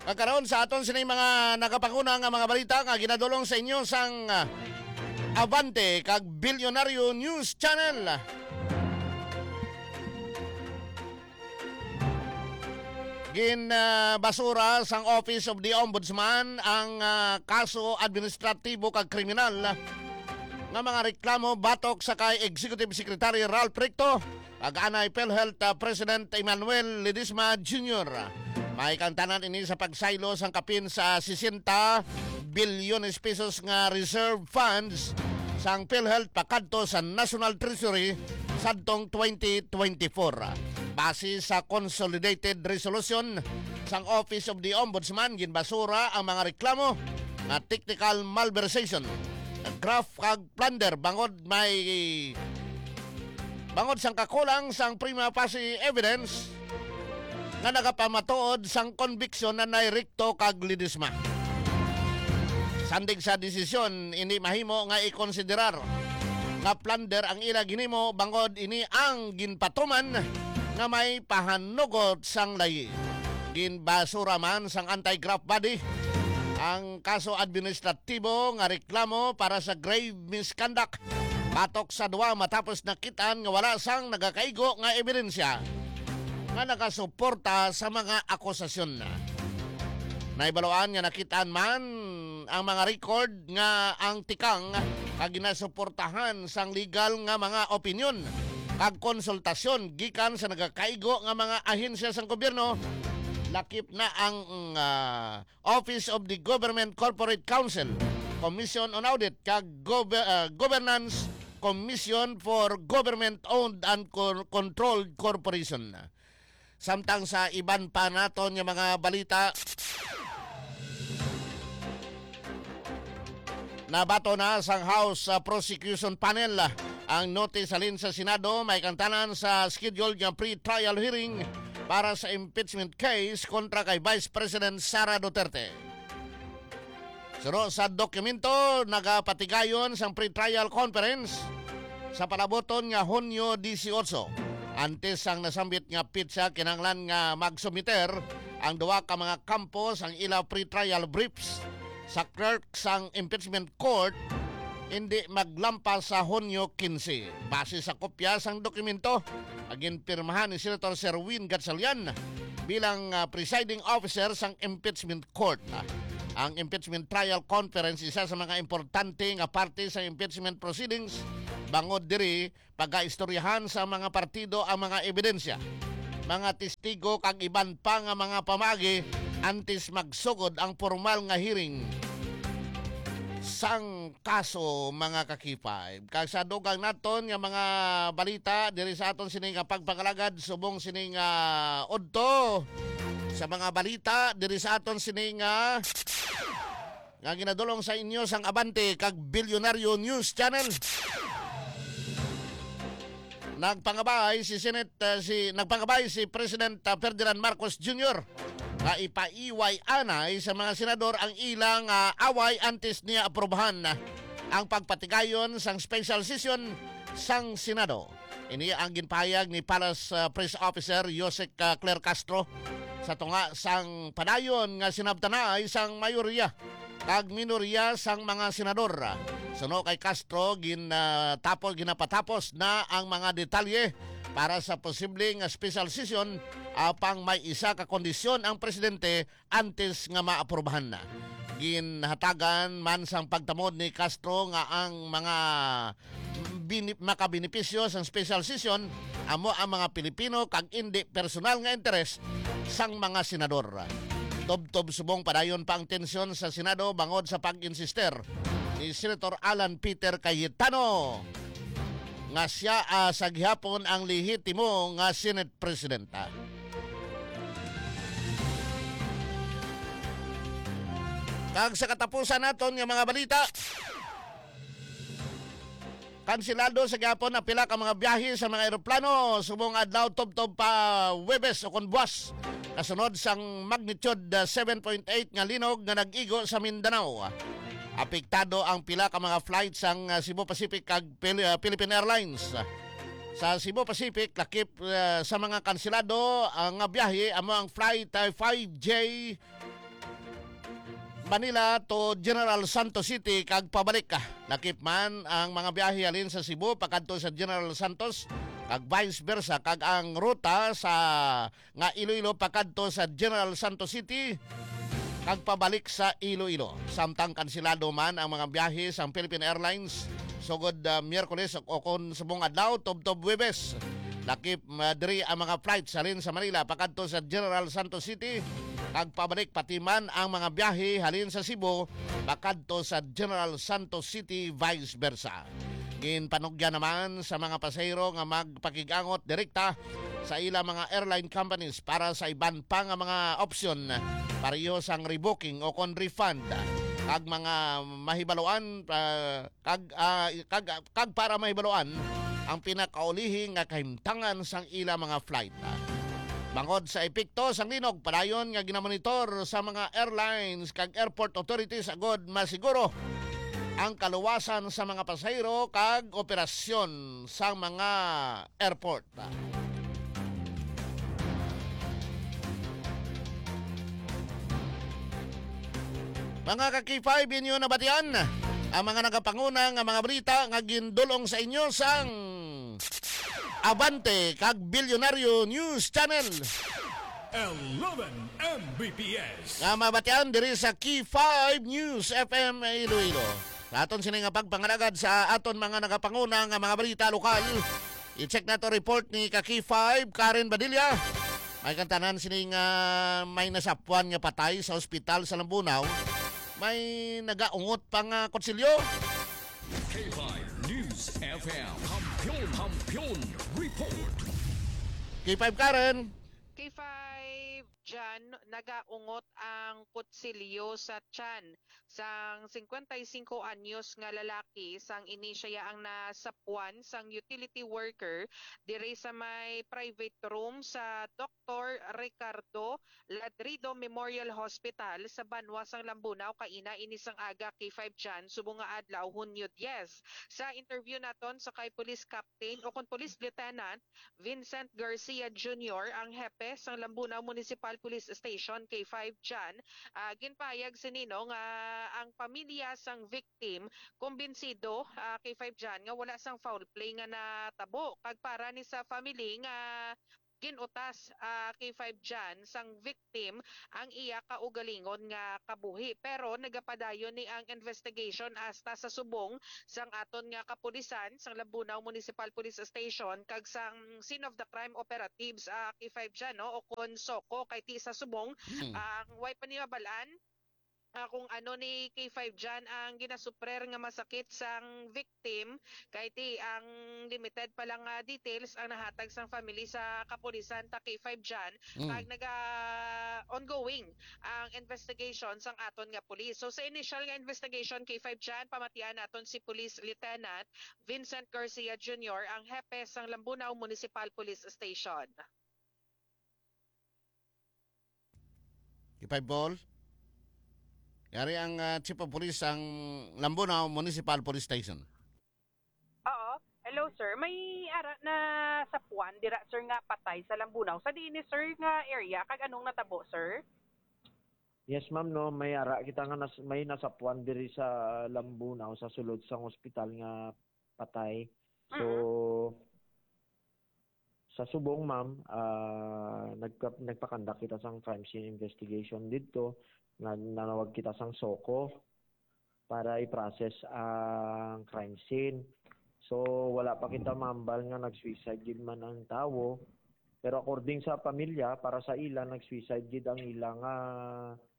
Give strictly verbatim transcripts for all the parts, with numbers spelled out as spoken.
Kag karon sa aton sini mga nagapanguna nga mga balita nga ginadulong sa inyo sang, ah, Abante kag Bilyonaryo News Channel. Gin, ah, basura sang Office of the Ombudsman ang, ah, kaso administratibo kag kriminal nga mga reklamo batok sa kay Executive Secretary Ralph Recto kag anay PhilHealth, ah, President Emmanuel Ledesma Junior. May kangtanan ini sa pagsaylo sang kapin sa sesenta bilyones pesos nga reserve funds sang PhilHealth pakadto sa National Treasury sadtong twenty twenty-four. Base sa Consolidated Resolution sang Office of the Ombudsman, ginbasura ang mga reklamo nga technical malversation, graft kag plunder bangod may bangod sang kakulang sang prima facie evidence nga nagapamatuod sang konbiksyon ni Recto kag Ledesma. Sandig sa desisyon, hindi mahimo nga ikonsiderar nga plunder ang ila ginhimo bangod ini ang ginpatuman nga may pahanugot sang layi. Ginbasura man sang anti-graft body ang kaso administratibo nga reklamo para sa grave misconduct batok sa duwa matapos nakit-an nga wala sang nagakaigo nga ebidensya nga nagasuporta sa mga akusasyon. Nahibaluan nga nakit-an man ang mga record nga ang tikang nga ginasuportahan sang legal nga mga opinyon kag konsultasyon gikan sa nagakaigo nga mga ahensya sang gobyerno, lakip na ang, ah, Office of the Government Corporate Counsel, Commission on Audit, kag Gov-, ah, Governance Commission for Government-Owned and Con-, Controlled Corporation. Samtang sa iban pa naton nga mga balita, nabaton na sang House, ah, Prosecution Panel, ah, ang notice halin sa Senado, may kangtanan sa scheduled nga pre-trial hearing para sa impeachment case kontra kay Vice President Sara Duterte. Suno sa dokumento, nagapatigayon sang pre-trial conference sa palabuton nga Hunyo dieciocho. Antes sang nasambit nga petsa, kinahanglan nga magsubmiter ang duha ka mga kampo sang ila pre-trial briefs sa clerk sang impeachment court, hindi maglampas sa Hunyo quince. Base sa kopya sang dokumento, nga ginpirmahan ni Senator Sherwin Gatchalian bilang, ah, presiding officer sang impeachment court. Ah, ang impeachment trial conference isa sa mga importante nga parte sa impeachment proceedings, bangod diri pagaistoryahan sa mga partido ang mga ebidensya, mga testigo kag iban pa nga mga pamaagi antes magsugod ang formal nga hearing sang kaso, mga ka-K five. Kag sa dugang naton nga mga balita diri sa aton sini nga pagpangalagad subong sini nga udto sa mga balita diri sa aton sini nga, nga ginadulong sa inyo sang Abante kag Bilyonaryo News Channel. Nagpangabay si Senate, uh, si, nagpangabay si President, uh, Ferdinand Marcos Junior nga ipaiway anay sa mga senador ang ilang, uh, away antes niya aprobahan ang pagpatigayon sang special session sang Senado. Ini ang ginpahayag ni Palace, uh, Press Officer Yusek, uh, Claire Castro sa tunga sang padayon nga sinabtanay sang mayorya kag minorya sang mga senador. Suno kay Castro, gin, ah, tapos, ginapatapos na ang mga detalye para sa posible nga special session, apang may isa ka kondisyon ang presidente antes nga maaprubahan na. Ginhatagan man sang pagtamod ni Castro nga ang mga bini-, makabenepisyo sang special session amo ang mga Pilipino kag indi personal nga interes sang mga senador. Tubtob subong padayon pa ang tensyon sa Senado bangod sa pag-insister ni Senator Alan Peter Cayetano nga sia, ah, sa gihapon ang lehitimo nga Senate Presidenta. Kag sa katapusan naton nga mga balita, kansilado sa gihapon ang pila ka mga biyahe sa mga eroplano subong adlaw tubtob pa Huwebes o kon buwas, kasunod sang magnitude, ah, seven point eight nga linog nga nag-igo sa Mindanao. Apektado ang pila ka mga flight sang, ah, Cebu Pacific kag Pil-, ah, Philippine Airlines. Sa Cebu Pacific, lakip, ah, sa mga kansilado, ah, nga biyahe amo ang flight, ah, five J Manila to General Santos City kag pabalik. Lakip man ang mga biyahe halin sa Cebu pakadto sa General Santos kag vice versa, kag ang ruta sa nga Iloilo pakadto sa General Santos City kag pabalik sa Iloilo. Samtang kansilado man ang mga biyahe sang Philippine Airlines sugod, ah, Miyerkules o kon subong adlaw tubtob Huwebes. Lakip, ah, diri ang mga flights halin sa Manila pakadto sa General Santos City kag pabalik, pati man ang mga biyahe halin sa Cebu pakadto sa General Santos City, vice versa. Ginpanugyan naman sa mga pasahero nga magpakig-angot direkta sa ila mga airline companies para sa iban pa nga mga opsyon, pareho sang rebooking o kon refund, kag mga mahibaluan, ah, kag, ah, kag, kag para mahibaluan ang pinakaulihi nga kahimtangan sang ila mga flight. Bangod sa epekto sang linog, padayon nga ginamonitor sa mga airlines kag airport authorities agod masiguro ang kaluwasan sa mga pasahero kag operasyon sa mga airport. Mga ka-K five, inyo nabatian ang mga nagapanguna nga mga balita nga gindul-ong sa inyo sang Abante kag Bilyonaryo News Channel. Eleven M B P S. Nga mabatian diri sa K five News F M Iloilo. Sa aton sini nga pagpangalagad sa aton mga nagapanguna nga mga balita lokal, i-check nato report ni ka K five, Karen Badilla. May kantanan sini nga may nasapwan nga patay sa ospital sa Lambunao. May nagaungot pa nga kutsilyo. K five News F M. Kampiyon, Kampiyon Report. K five, Karen. K five, Jan, nagaungot ang kutsilyo sa tiyan sang singkwenta y singko anyos nga lalaki, sang ini siya ang nasapwan sang utility worker diri sa may private room sa Doktor Ricardo Ladrido Memorial Hospital sa banwa sang Lambunao kaina ini sang aga, K five Jan, subong nga adlaw, Hunyo diyes. Sa interview naton sa kay Police Captain o kon Police Lieutenant Vincent Garcia Junior, ang hepe sang Lambunao Municipal Police Station, K five Jan, ah, ginpahayag sini, no, nga ang pamilya sang victim kumbinsido, ah, K five Jan, nga wala sang foul play nga natabo, kag para ni sa family nga gin-utas, ah, K five Jan, sang victim ang iya kaugalingon nga kabuhi. Pero nagapadayon ni ang investigation hasta sa subong sang aton nga kapulisan, sang Lambunao Municipal Police Station, kag sang Scene of the Crime Operatives, ah, K five Jan, no, o kon SOCO, kay ti sa subong, Mm. ang way pa ni mabalaan, ah, kung ano ni K five Jan ang ginasuprer nga masakit sang victim, kay ti ang limited pa lang nga details ang nahatag sang family sa kapulisan ta, K five Jan, Mm. kag naga-ongoing ang investigation sang aton nga pulis. So, sa initial nga investigation, K five Jan, pamatian naton si Police Lieutenant Vincent Garcia Junior, ang hepe sang Lambunao Municipal Police Station. K five Ball. Yari ang, ah, Chief of Police sang Lambunao Municipal Police Station. Oo. Hello, sir. May ara na sapwan dira, sir, nga patay sa Lambunao. Sa diin ni, sir, nga area? Kag anong natabo, sir? Yes, ma'am, no. May ara kita nga nas-, may nasapwan diri sa Lambunao, sa sulod sang ospital nga patay. So, Mm-hmm. sa subong, ma'am, ah, nagka-, nagpakandak kita sang crime scene investigation didto. Nag-, nanawag kita sang SOCO para i-process ang crime scene. So, wala pa kita mambal nga nag-suicide gid man ang tawo. Pero according sa pamilya, para sa ila, nag-suicide gid ang ila nga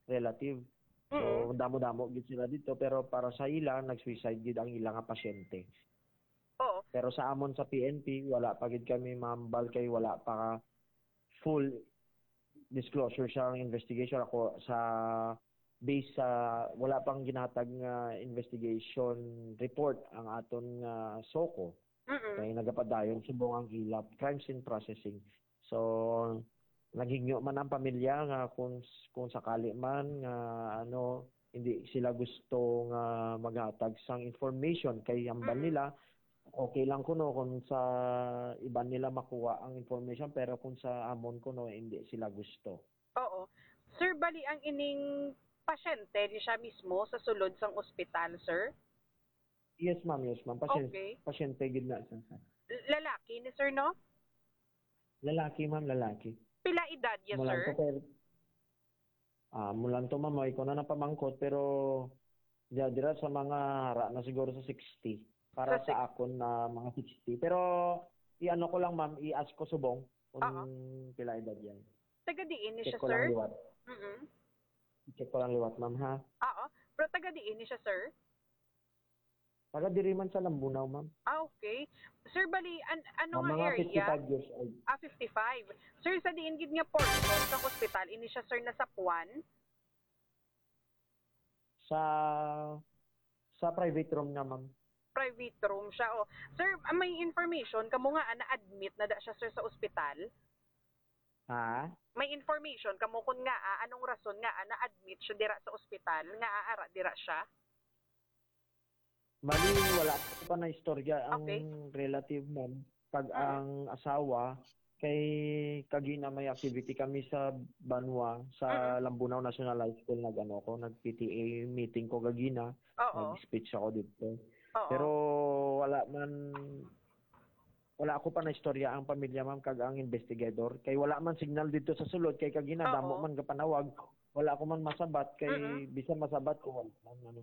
relative. So, Mm. damo-damo gid sila dito, pero para sa ila, nag-suicide gid ang ila nga pasyente. Oo. Pero sa amon sa P N P, wala pa gid kami mambal kay wala pa full disclosure sa investigation. Ako, sa base sa wala pang ginatag nga investigation report ang aton nga SOCO, Mm-mm. kay nagapadayon subong ang ila crime scene processing. So, naghingyo man ang pamilya nga kung, kung sakali man nga, ano, hindi sila gusto nga maghatag sang information kay hambal Mm-mm. nila, okay lang kuno kung sa iban nila makuha ang information, pero kung sa amon kuno, hindi sila gusto. Oo. Sir, bali ang ining Pasyente ni siya mismo sa sulod sang ospital, sir? Yes, ma'am. Yes, ma'am. Pasyen-, Okay. pasyente gid na siya, sir. L-, lalaki ni sir, no? Lalaki, ma'am, lalaki. Pila edad niya, Mulan sir? ko, pero, ah, mulan to, ma'am, ay ko na napamangkot, pero diya, dira sa mga hara na siguro sa sixty. Para Sa sa six- akon na mga sixty. Pero, i-ano ko lang, ma'am, i-ask ko subong kung Oo. pila edad yan. Taga diin ni Check siya, ko lang sir? liwat. Mm-mm. Check ko lang liwat, ma'am, ha? Oo. Pero taga diin ni siya, sir? Taga diri man sa Lambunao, ma'am. Ah, okay. Sir, bali, an-, ano Ma'am, nga mga area? fifty-five years old. Ah, fifty-five. Sir, sa diin gid nga portion sa hospital, ini siya, sir, nasapuan? Sa, sa private room nga, ma'am. Private room siya, oh. Sir, ah, may information kamo nga, ah, na-admit na da siya, sir, sa ospital? Ha? May information kamo kun nga, ah, anong rason nga, ah, na-admit siya dira sa ospital, nga, ah, ara dira siya? Bali, wala pa na istorya ang Okay. relative, ma'am, kag Mm. ang asawa, kay kagina may activity kami sa Banwa, sa Mm. Lambunao National High School, nag-ano ko, nag-P T A meeting ko kagina, Oo. nag-speech ako dito. Oo. Pero wala man, wala ako pa na istorya ang pamilya, ma'am, kag ang investigador, kay wala man signal dito sa sulod, kay kagina Oo. damo man gapanawag, wala ako man masabat, kay Mm-mm. bisan masabat ko, wala man, ano.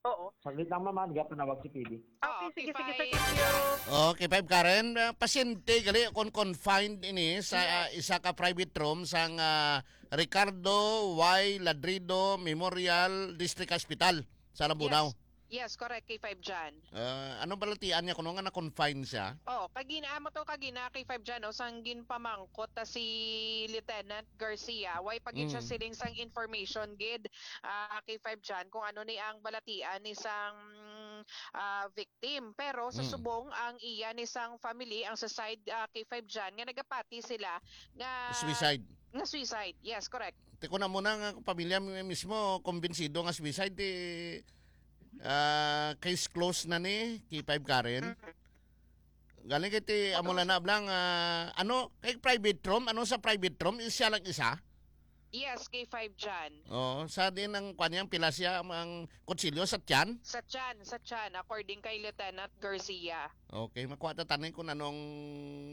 Oo. Saglit lang, ma'am, ah, gapanawag si P D. Okay, Oo, sige, sige, sir. K five. Thank you. Oh, K five Karen, ah, pasyente gali kon confined ini sa, Yes. ah, isa ka private room sang, ah, Ricardo Y. Ladrido Memorial District Hospital sa Lambunao. Yes. Yes, correct, K five John. Ah, anong balatian niya kuno nga na-confine siya? Oh, kagina, amo to kagina, K five John, no, sang ginpamangkot ta si Lieutenant Garcia, way pa gid siya Mm. siling sang information gid, ah, K five John, kung ano ni ang balatian ni sang, ah, victim. Pero sa Mm. subong ang iya ni sang family, ang sa side, ah, K five John, nga nagapati sila nga Suicide. nga suicide. Yes, correct. Ti ko na muna nga pamilya mi-, mismo kumbinsido nga suicide, ti, ah, case closed na ni K five Karen. Mm. Galing kay ti amo lang na blang, ah, ano, kay private room, ano sa private room, is siya lang isa? Yes, K five John. Oo, sa din ang kwan niya, ang pila siya, ang kutsilyo sa tiyan? Sa tiyan, sa tiyan, according kay Lieutenant Garcia. Okay, makuha ta tanin kung anong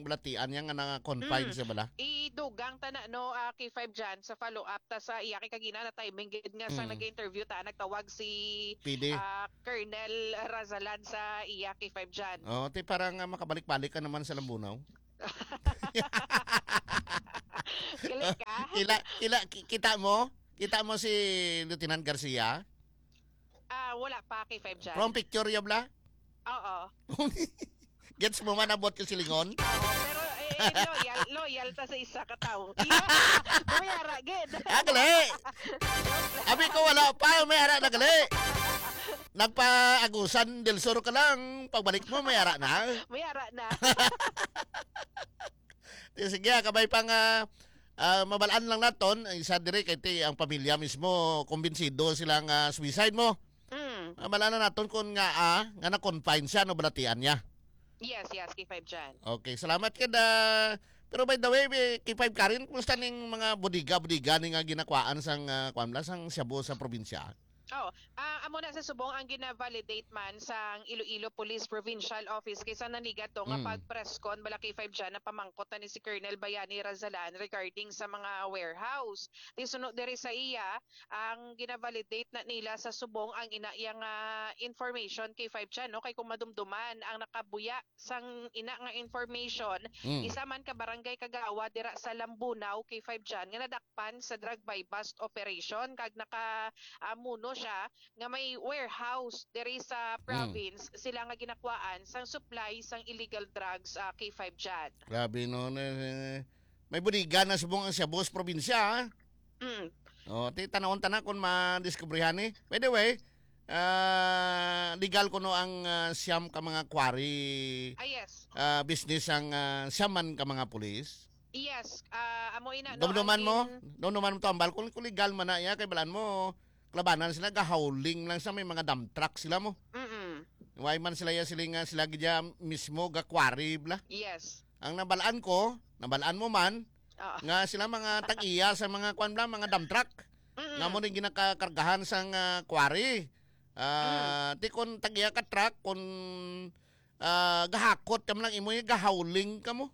balatian niya nga na-confine Mm. siya bala. Idugang ta na, no, ah, K five John, sa follow-up ta sa iya kay kagina na timing gid nga sa Mm. nag-interview ta, nagtawag si P D. ah, Colonel Razalan sa iya K five John. Oh, ti parang, ah, makabalik-balik ka naman sa Lambunao. Galing ka? Kila, kila, ki-, kita mo? Kita mo si Lieutenant Garcia? Ah, wala pa, K five John. From picture, ya bla? Oo. Gets mo man abot ko silingon? Oo, pero, eh, eh, loyal, loyal ta sa isa ka tawo. Mayara gid. Ah, gali. Abi ko wala pa, mayara na gali. Nagpaagusan del Sur ka lang, pagbalik mo, mayara na. Mayara na. Di, sige, ah, kabay pa nga, ah, mabalaan lang naton, isa diri kay ti ang pamilya mismo kumbinsido sila nga suicide mo. Mm. Ah, mabalaan na naton kung nga, ah, nga na-confine siya, no, balatian niya. Yes, yes, K five John. Okay, salamat kada. Pero by the way, eh, K five Karen, kumusta ning mga bodega-bodega ni nga ginakwaan sang, ah, kwan lang, sang shabu sa probinsya? Oh, ah, amo na sa subong ang gina-validate man sang Iloilo Police Provincial Office kay sa naniga to nga Mm. pag-press con bala K five John, napamangkot na ni si Colonel Bayani Razalan regarding sa mga warehouse. Ti suno diri sa iya, ang gina-validate na nila sa subong ang ina iya nga information, K five John, no? Kay kung madumduman ang nakabuya sang ina nga information, Mm. isa man ka barangay kagawad dira sa Lambunao, K five John, nga nadakpan sa drug buy-bust operation kag naka, ah, muno siya nga may warehouse diri sa Mm. province sila nga ginakwaan sang supply sang illegal drugs, ah, K five John. Grabe, no, na, na, may bodega na subong ang shabu sa probinsya, ha? Mm. Oh, ti, tanawon ta na kung madiskubrihan ni. By the way, ah, legal kuno ang, ah, siyam ka mga quarry, Ah, yes. ah, business ang, ah, siyam man ka mga pulis? Yes. Ah, amo ina, no, Dumduman ang mo? in- Dumduman mo to, ambal. Kung, kung legal man na iya, kay balaan mo, klabanan sila, gahauling lang sa may mga dump truck sila mo. Mm-mm. Why man sila ya siling nga sila gid ya mismo ga quarry bla? Yes. Ang nabalaan ko, nabalaan mo man, Oo. nga sila mga tag-iya sa mga kwan bla, mga dump truck. Mm. Nga mo ning ginakakargahan sang, ah, quarry. Ah, Mm. ti kun tag-iya ka truck, kun, ah, gahakot ka man lang imo, gahauling ka mo.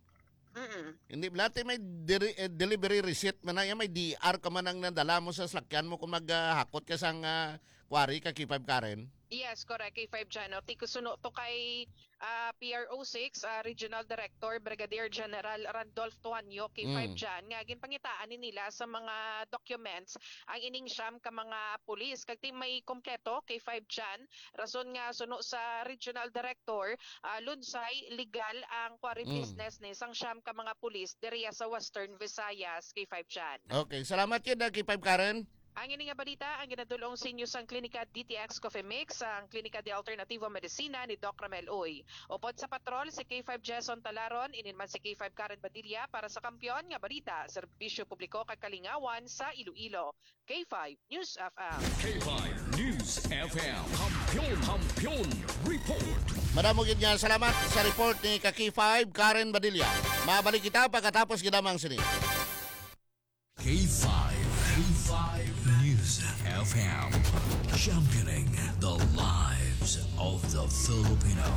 Mm. Hindi bala, ti may diri-, eh, delivery receipt man na, may D R ka man ang nadala mo sa salakyan mo kung maghakot ka sang, ah, quarry ka, K five Karen? Yes, correct, K five Jan, no? Ti kusuno to kay, ah, P R O six, ah, Regional Director Brigadier General Randolph Tuanyo, K five Mm. Jan, nga ginpangitaan ni nila sa mga documents ang ining siyam ka mga pulis. Kag ti may kompleto, K five Jan, rason nga suno sa Regional Director, ah, lunsay legal ang quarry Mm. business ni sang siyam ka mga pulis diriya sa Western Visayas, K five Jan. Okay, salamat gid, ah, K five Karen. Ang ini nga balita ang ginadul-ong sa inyo sang Klinika D T X Coffee Mix, ang Klinika de Alternativo Medicina ni Doc Ramel Uy. Upod sa patrol si K five Jason Talaron, inin man si K five Karen Badilla para sa Kampiyon nga Balita, Serbisyo Publiko kag Kalingawan sa Iloilo. K five News F M. K five News F M. Kampiyon, Kampiyon Report. Madamo gid nga salamat sa report ni ka K five Karen Badilla. Mabalik kita pagkatapos gid lamang sini. K five, K five News F M, championing the lives of the Filipino.